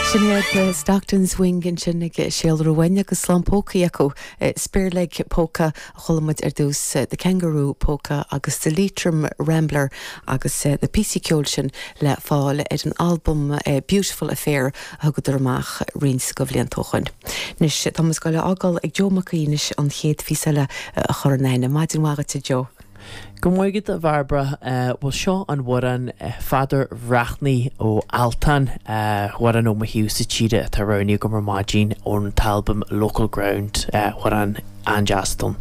Sin iad Stockton's Wing ansin ag síolrú uainn agus lán polcaí acu. Spearleg Polka a chuala muid ar dtús, The Kangaroo Polka agus The Leitrim Rambler agus na píosaí ceoil sin le fáil ar an albam Beautiful Affair a thugadar amach roinnt de bhlianta ó shoin. Anois tá muid ag goil a fhágáil ag Joe Mac Aoidh anois an chéad phíosa eile a chur in aithne. Maidin mhaith dhuit a Joe. Go raibh maith agat a Bhairbre. Bhuel seo an amhrán Pheadair Bhreathnaigh ó Altan, amhrán ó mo thaobhsa tíre atá roghnaithe agam ar maidin ón t-albam Local Ground, amhrán an-deas dom.